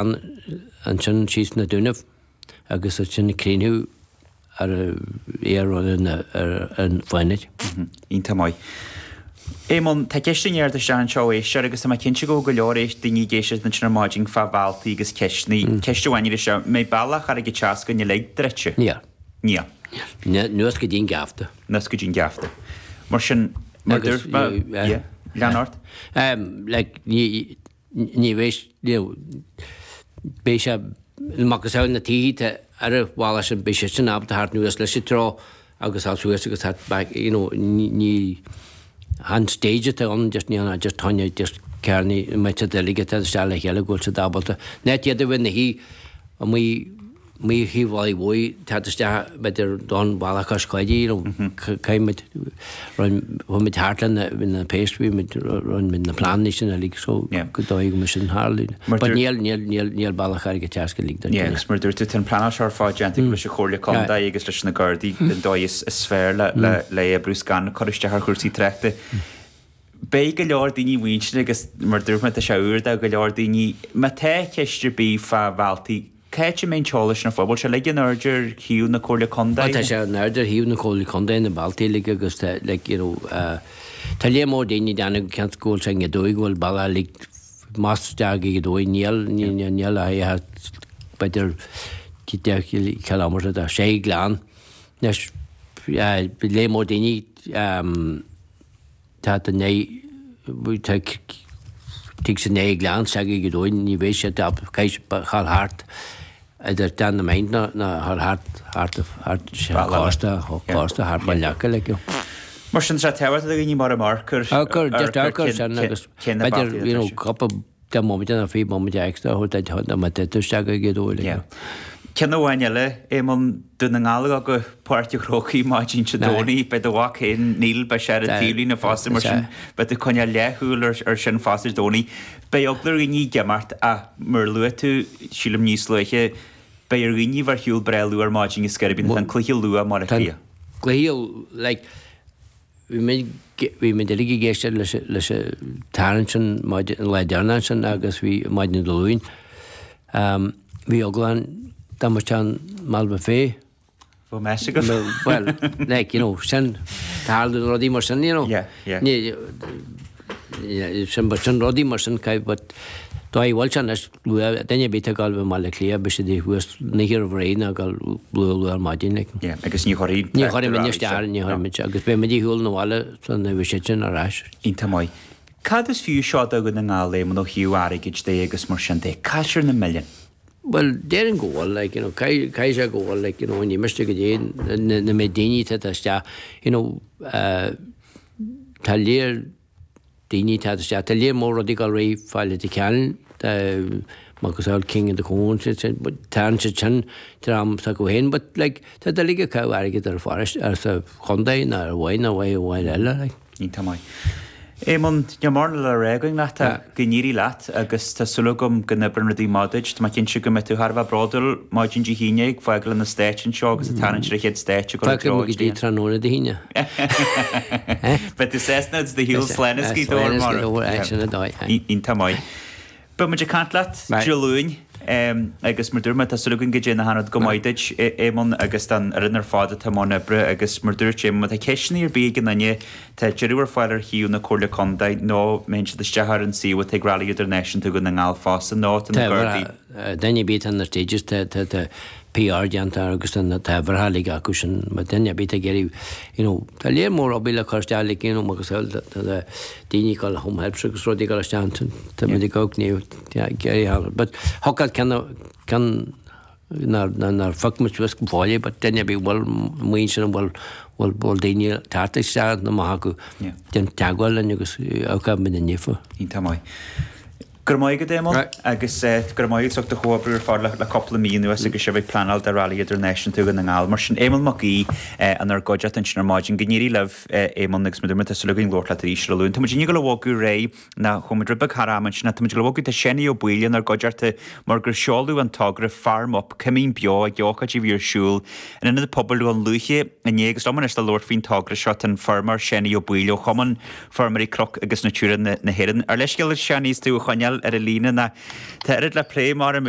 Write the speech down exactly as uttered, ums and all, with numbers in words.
Ansin síos na Dúnaibh agus ansin críochnú ar ar an Fánaid. Iontach maith. Éamonn, tá ceist i ndiaidh isteach anseo éisteoir agus tá mé cinnte go bhfuil go leor éist daoine ag éisteacht ansin ar maidin fá bhealtaí agus ceisteanna. Ceist amháin ar seo, mbeidh bealach Charraig an tSeascainn uilig druidte? Níl. Níl. Anuas go dtí an geafta. Anuas go dtí an geafta. Mar sin, mar Agus, dúirt mé, yeah. yeah, lean ort. Um, like, ní ní bheidh, you know, beidh sé macasamhail na tithe ar an bhaile sin, beidh sé sin ábalta theacht anuas leis an treo agus thart suas agus thart back, you know, ní ní han stage atá ann, just ní an just táine just cearnaí mbeidh siad uilig atá isteach le chéile go bhfuil siad ábalta. Net iad a bheith na hí amuigh amuigh thaobh Bhaile Mhóir teacht isteach b'fhéidir don bhaile cois Coidí, you know, caithfidh muid chuaigh muid thart le na na péist, bhí muid rinne muid na pleananna sin uilig so Yeah. go dóigh go mbeidh sin tharlú. Mar But dúirt- níl níl níl níl bealach Charraig an tSeascainn uilig don Yeah, agus mar dúirt tú tá an pleanáil seo ar fad déanta leis an Chomhairle Contae agus leis na Gardaí den dóigh is is fearr le le le oibriú gan cur isteach ar chúrsaí tráchta. Beidh go leor daoine muintir agus mar dúirt mé tá sé úr do go leor daoine má tá ceist ar bith fá bhealtaí cá háit a mbeidh an t-eolas sin ar fáil, bhfuil sé uilig in airde ar shuíomh na Comhairle Contae? Tá sé in airde ar shuíomh na Comhairle Contae na bealtaí uilig agus tá like, you know, uh, tá léar mór daoine déanamh ceant go bhfuil sé i dóigh go bhfuil bealach uilig más isteach ag dóigh níl níl níl níl a b'fhéidir deich kilometre de sé gleann. Anois léar mór daoine um, tá tá tá tig sa né gleann se go dóin ní bheidh sé chail thart idir Dan na Main na na thar thart thart thart cósta cósta thart ba leaca le. Mar sin sé tehair daoine mar a marcar Águr just águr sin agus b'fhéidir you know cúpla de moment na fiche moment extra ho da ma te isteach go dóigh le. Ceann amháin eile Éamonn Dún na nGall go Páirc an Chrócaigh maidin Dé Domhnaigh beidh do mhac féin Neil beidh sé ar an taobhlíne fosta mar sin beidh tú coinneáil leathshúil ar ar sin fosta Dé Domhnaigh. Beidh eagla ar dhaoine ag imeacht ach mar luaigh tú sílim níos luaithe beidh ar dhaoine bheith ar shiúl breá luath ar maidin is gurb an cluiche luath mar a Cliath. Cluiche like bhí muid bhí muid uilig ag éisteacht leis leis an tarraingt sin maidin an lá deireanach sin agus bhí maidin Dé Luain. Um, bhí eagla dá mbeadh an Malva Fé. Bhí meas agat? Well, like, you know, sin tarlaíonn rudaí mar sin, you know. Yeah, yeah. Ní sin but sin rudaí mar sin cai but dá bhfuil sin is luath duine bith ag gabháil Baile Átha Cliath beidh siad thuas naoi roimh ré ná ag gabháil luath luath ar maidin like. Yeah, agus ní chuirfidh Ní chuirfidh muid isteach ní chuirfidh muid agus beidh muid ar shiúl na bhaile san bhí siad sin ar ais. Iontach maith. Cad is fiú seo do Dhún na nGall Éamonn ó thaobh airgid de agus mar sin de? Caitear na milliúin. Well, déarfainn go bhfuil, like, you know, caithfidh sé go bhfuil, like, you know, ní miste go dté na na méid daoine atá isteach, you know, uh, tá léir daoine atá isteach, tá léar mór rudaí ag dul réidh fáil de ceann, macasamhail King of the Cones, tá siad sin dream s'acu féin, but like, tá uilig ag caitheamh airgead ar pharóiste, ar sa chontae ná ar bhain ná bhain amháin eile, like. Iontach maith. Éamonn, níl mórán le rá againn leat go n-éirí leat agus tá súil agam go n-oibreann rudaí maith duit. Tá mé cinnte go mbeidh tú thar a bheith bródúil maidin Dé hAoine ag fágáil na Stáit anseo agus ag tarraingt ar an chéad stáitse go Fágfaidh muid go dtí tráthnóna Dé hAoine. Beidh tú sásta do shiúl slán is Gaoth Dobhair mar. Sin an dóigh. Iontach maith. Beidh muid ag caint leat Dé Luain agus mar dúirt mé tá súil againn go dtéann achan rud go maith duit Éamonn agus don fhoireann ar fad atá i mbun oibre agus mar dúirt Éamonn má tá ceisteanna ar bith ag an duine tá deireadh ar fáil ar shuíomh na Comhairle Contae nó mbíonn siad isteach ar an suíomh atá ag Rally Idirnáisiúnta Dhún na nGall fosta nó tá na Gardaí. Duine ar bith tá na stages tá tá tá PR déanta agus tá tá bhreithe acu sin má duine ar bith ag iarraidh you know tá léar mór obair le cur isteach like you know agus tá tá daoine ag dul home helps agus rudaí ag dul isteach tá muid ag gabháil ní iarraidh but thocáil ceann ceann nár nár phioc muid suas go fóill but duine ar bith bhfuil maoin sin bhfuil bhfuil bhfuil daoine thart isteach na maith acu déan teagmháil linn agus á muid inniu. Iontach maith. Go raibh maith agat Éamonn agus go raibh maith agat as ucht do chomhoibriú ar fad le cúpla mí anuas agus sibh ag pleanáil do Rally Idirnáisiúnta Dhún na nGall. Mar sin Éamonn Mac Aoidh inár gcuideachta ansin ar maidin go n-éirí libh Éamonn agus muid tá súil againn labhairt leat arís ar Luan. Tá muid ag dul a bhogadh réidh ná chuaigh muid rud beag thar am ansin tá muid ag dul a bhogadh tá Seanie Ó Baoill inár gcuideachta mar gur seoladh an togra Farm Up Cuimín Beo ag ócáid a bhí ar siúl in Ionad Pobail Dhún Lúiche inné agus liom anois le labhairt faoin togra seo tá an feirmeoir Seanie Ó Baoill ó Chumann Feirmeoirí Cnoc agus Natura na, na hÉireann. Ar leithscéal Seanie is tú a choinneáil ar an líne ná tá oiread le plé mar agus